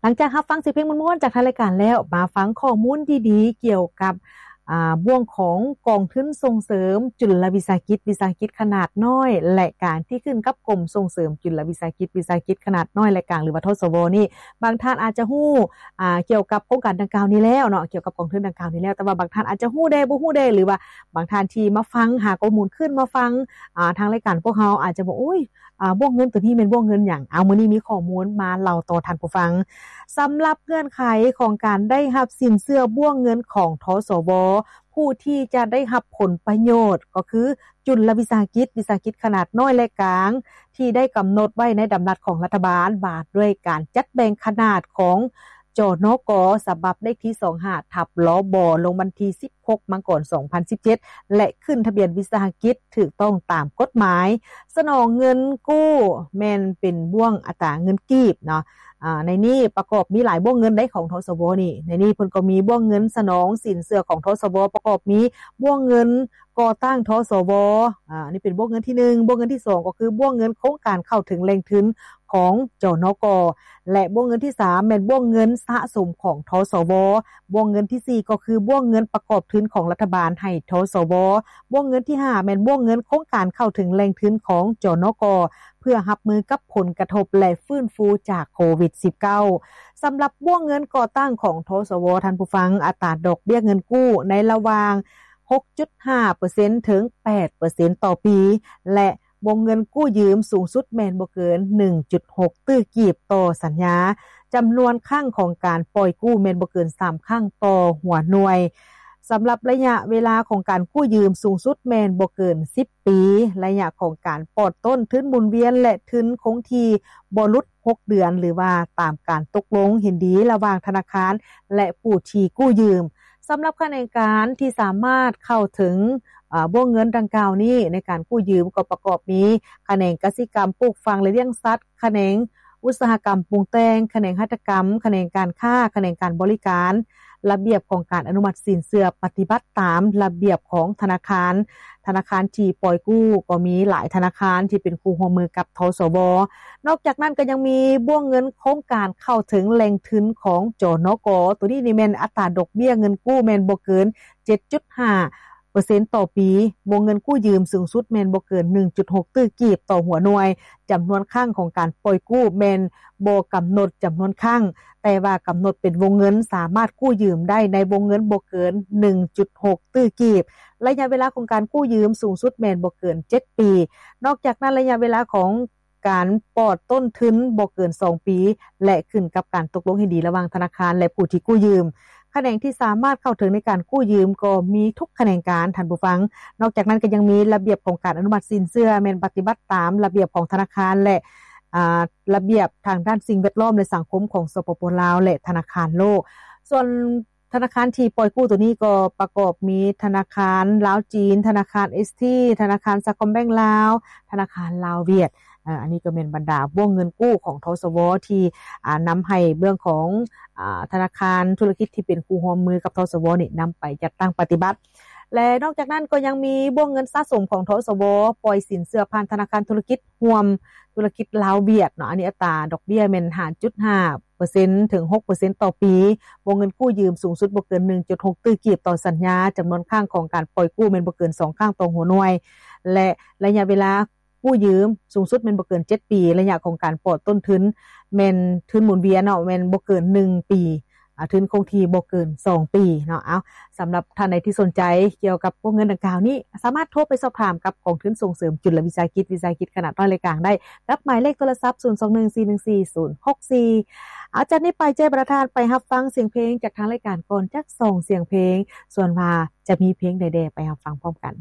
ຫຼັງຈາກຮັບຟັງສຽງເພງມ່ວນໆຈາກທາງລາຍການແລ້ວ, ມາຟັງຂໍ້ມູນດີໆກ່ຽວກັບ ອ່າ ບ່ວງຂອງກອງທຶນສົ່ງເສີມຈຸລະວິສາຫະກິດ, ວິສາຫະກິດຂະໜາດນ້ອຍ ແລະ ກາງ ທີ່ຂຶ້ນກັບກົມສົ່ງເສີມຈຸລະວິສາຫະກິດ, ວິສາຫະກິດຂະໜາດນ້ອຍ ແລະ ກາງ ຫຼືວ່າ ທສວ ນີ້. ບາງທ່ານອາດຈະຮູ້ ອ່າ ກ່ຽວກັບໂຄງການດັ່ງກ່າວນີ້ແລ້ວເນາະ, ກ່ຽວກັບກອງທຶນດັ່ງກ່າວນີ້ແລ້ວ, ແຕ່ວ່າບາງທ່ານອາດຈະຮູ້ແດ່ ບໍ່ຮູ້ແດ່ ຫຼືວ່າບາງທ່ານທີ່ມາຟັງ, ຫາຂໍ້ມູນຂຶ້ນມາຟັງ ອ່າ ທາງລາຍການພວກເຮົາອາດຈະບອກ ໂອ້ຍ ອ່າ ວງເງິນໂຕນີ້ແມ່ນວງເງິນຫຍັງ? ເອົາ ມື້ນີ້ມີຂໍ້ມູນມາເລົ່າຕໍ່ທ່ານຜູ້ຟັງ. ສຳລັບເງື່ອນໄຂຂອງການໄດ້ຮັບສິນເຊື່ອບ້ວງເງິນຂອງ ທສວ ຜູ້ທີ່ຈະໄດ້ຮັບຜົນປະໂຫຍດກໍຄື ຈຸລະວິສາຫະກິດ, ວິສາຫະກິດຂະໜາດນ້ອຍ ແລະ ກາງ ທີ່ໄດ້ກຳນົດໄວ້ໃນດຳລັດຂອງລັດຖະບານວ່າດ້ວຍການຈັດແບ່ງຂະໜາດຂອງ ຈນກ ສະບັບເລກທີ ສອງຫ້າ ທັບ ລບ ລົງວັນທີ ສິບຫົກ ມັງກອນ ສອງພັນສິບເຈັດ ແລະ ຂຶ້ນທະບຽນວິສາຫະກິດຖືກຕ້ອງຕາມກົດໝາຍ. ສະໜອງເງິນກູ້ແມ່ນເປັນບ້ວງອັດຕາເງິນກີບເນາະ. ອາ ໃນນີ້ປະກອບມີຫຼາຍບ້ວງເງິນໃດຂອງ ທສວ ນີ້. ໃນນີ້ເພິ່ນກໍມີບ້ວງເງິນສະໜອງສິນເຊື່ອຂອງ ທສວ ປະກອບມີບ້ວງເງິນ ກໍ່ຕັ້ງ ທສວ ອາ ອັນນີ້ເປັນບົວກເງິນທີໜຶ່ງ, ບົວກເງິນທີສອງກໍຄືບົວກເງິນໂຄງການເຂົ້າເຖິງແຫຼ່ງທຶນຂອງ ຈນກ ແລະ ບົວກເງິນທີສາມແມ່ນບົວກເງິນສະສົມຂອງ ທສວ, ບົວກເງິນທີສີ່ກໍຄືບົວກເງິນປະກອບທຶນຂອງລັດຖະບານໃຫ້ ທສວ, ບົວກເງິນທີຫ້າແມ່ນບົວກເງິນໂຄງການເຂົ້າເຖິງແຫຼ່ງທຶນຂອງ ຈນກ ເພື່ອຮັບມືກັບຜົນກະທົບ ແລະ ຟື້ນຟູຈາກໂຄວິດສິບເກົ້າ. ສຳລັບບົວກເງິນກໍ່ຕັ້ງຂອງ ທສວ ທ່ານຜູ້ຟັງ, ອັດຕາດອກເບ້ຍເງິນກູ້ໃນລະຫວ່າງ ຫົກຈຸດຫ້າເປີເຊັນ ເຖິງ ແປດເປີເຊັນຕໍ່ປີ ແລະ ວົງເງິນກູ້ຢືມສູງສຸດແມ່ນບໍ່ເກີນ ໜຶ່ງຈຸດຫົກ ຕື້ກີບຕໍ່ສັນຍາ. ຈຳນວນຄັ້ງຂອງການປ່ອຍກູ້ແມ່ນບໍ່ເກີນ ສາມ ຄັ້ງຕໍ່ຫົວໜ່ວຍ. ສຳລັບໄລຍະເວລາຂອງການກູ້ຢືມສູງສຸດແມ່ນບໍ່ເກີນ ສິບປີ. ໄລຍະຂອງການປອດຕົ້ນທຶນໝູນວຽນ ແລະ ທຶນຄົງທີ່ບໍ່ຫຼຸດ ຫົກເດືອນ ຫຼືວ່າຕາມການຕົກລົງເຫັນດີລະຫວ່າງທະນາຄານ ແລະ ຜູ້ທີ່ກູ້ຢືມ. ສຳລັບຂະແໜງການທີ່ສາມາດເຂົ້າເຖິງ ອາ ບົວກເງິນດັ່ງກ່າວນີ້ໃນການກູ້ຢືມກໍປະກອບມີ ຂະແໜງກະສິກຳ, ປູກຝັງ ແລະ ລ້ຽງສັດ, ຂະແໜງອຸດສາຫະກຳປຸງແຕ່ງ, ຂະແໜງຫັດຖະກຳ, ຂະແໜງການຄ້າ, ຂະແໜງການບໍລິການ. ລະບຽບຂອງການອະນຸມັດສິນເຊື່ອປະຕິບັດຕາມລະບຽບຂອງທະນາຄານ. ທະນາຄານທີ່ປ່ອຍກູ້ກໍມີຫຼາຍທະນາຄານທີ່ເປັນຄູ່ຮ່ວມມືກັບ ທສວ. ນອກຈາກນັ້ນກໍຍັງມີບົວກເງິນໂຄງການເຂົ້າເຖິງແຫຼ່ງທຶນຂອງ ຈນກ. ໂຕນີ້ນີ້ແມ່ນອັດຕາດອກເບ້ຍເງິນກູ້ແມ່ນບໍ່ເກີນ ເຈັດຈຸດຫ້າເປີເຊັນຕໍ່ປີ. ວົງເງິນກູ້ຢືມສູງສຸດແມ່ນບໍ່ເກີນ ໜຶ່ງຈຸດຫົກ ຕື້ກີບຕໍ່ຫົວໜ່ວຍ. ຈຳນວນຄັ້ງຂອງການປ່ອຍກູ້ແມ່ນບໍ່ກຳນົດຈຳນວນຄັ້ງ, ແຕ່ວ່າກຳນົດເປັນວົງເງິນສາມາດກູ້ຢືມໄດ້ໃນວົງເງິນບໍ່ເກີນ ໜຶ່ງຈຸດຫົກ ຕື້ກີບ. ໄລຍະເວລາຂອງການກູ້ຢືມສູງສຸດແມ່ນບໍ່ເກີນ ເຈັດປີ. ນອກຈາກນັ້ນ, ໄລຍະເວລາຂອງການປອດຕົ້ນທຶນບໍ່ເກີນ ສອງປີ ແລະ ຂຶ້ນກັບການຕົກລົງເຫັນດີລະຫວ່າງທະນາຄານ ແລະ ຜູ້ທີ່ກູ້ຢືມ. ຂະແໜງທີ່ສາມາດເຂົ້າເຖິງໃນການກູ້ຢືມກໍມີທຸກຂະແໜງການ, ທ່ານຜູ້ຟັງ. ນອກຈາກນັ້ນກໍຍັງມີລະບຽບຂອງການອະນຸມັດສິນເຊື່ອ ແມ່ນປະຕິບັດຕາມລະບຽບຂອງທະນາຄານ ແລະ ອາ ລະບຽບທາງດ້ານສິ່ງແວດລ້ອມ ແລະ ສັງຄົມຂອງ ສປປ ລາວ ແລະ ທະນາຄານໂລກ. ສ່ວນທະນາຄານທີ່ປ່ອຍກູ້ໂຕນີ້ກໍປະກອບມີທະນາຄານລາວຈີນ, ທະນາຄານເອສທີ, ທະນາຄານສາຄອມແບັງລາວ, ທະນາຄານລາວຫວຽດ. ເອີ ອັນນີ້ກໍແມ່ນບັນດາບົວກເງິນກູ້ຂອງ ທສວ ທີ່ ອາ ນຳໃຫ້ເບື້ອງຂອງ ອາ ທະນາຄານທຸລະກິດທີ່ເປັນຄູ່ຮ່ວມມືກັບ ທສວ ນີ້ນຳໄປຈັດຕັ້ງປະຕິບັດ. ແລະ ນອກຈາກນັ້ນກໍຍັງມີບົວກເງິນສະສົມຂອງ ທສວ ປ່ອຍສິນເຊື່ອຜ່ານທະນາຄານທຸລະກິດຮ່ວມທຸລະກິດລາວຫວຽດເນາະ, ອັນນີ້ອັດຕາດອກເບ້ຍແມ່ນ ຫ້າຈຸດຫ້າເປີເຊັນ ເຖິງ ຫົກເປີເຊັນຕໍ່ປີ. ວົງເງິນກູ້ຢືມສູງສຸດບໍ່ເກີນ ໜຶ່ງຈຸດຫົກ ຕື້ກີບຕໍ່ສັນຍາ. ຈຳນວນຄັ້ງຂອງການປ່ອຍກູ້ແມ່ນບໍ່ເກີນ ສອງ ຄັ້ງຕໍ່ຫົວໜ່ວຍ ແລະ ໄລຍະເວລາ ກູ້ຢືມສູງສຸດແມ່ນບໍ່ເກີນ ເຈັດປີ. ໄລຍະຂອງການປອດຕົ້ນທຶນແມ່ນທຶນໝູນວຽນເນາະ, ແມ່ນບໍ່ເກີນ ໜຶ່ງ ປີ, ອາ ທຶນຄົງທີ່ບໍ່ເກີນ ສອງ ປີເນາະ. ເອົາ ສຳລັບທ່ານໃດທີ່ສົນໃຈກ່ຽວກັບພວກເງິນດັ່ງກ່າວນີ້, ສາມາດໂທໄປສອບຖາມກັບກອງທຶນສົ່ງເສີມຈຸລະວິສາຫະກິດ, ວິສາຫະກິດຂະໜາດນ້ອຍ ແລະ ກາງໄດ້ ກັບໝາຍເລກໂທລະສັບ ສູນສອງໜຶ່ງ ສີ່ໜຶ່ງສີ່ ສູນຫົກສີ່. ເອົາ ຈາກນີ້ໄປ ຈະໃຫ້ບັນດາທ່ານໄປຮັບຟັງສຽງເພງຈາກທາງລາຍການກ່ອນ ຈັກສອງສຽງເພງ, ສ່ວນວ່າຈະມີເພງໃດແດ່ ໄປຮັບຟັງພ້ອມກັນ.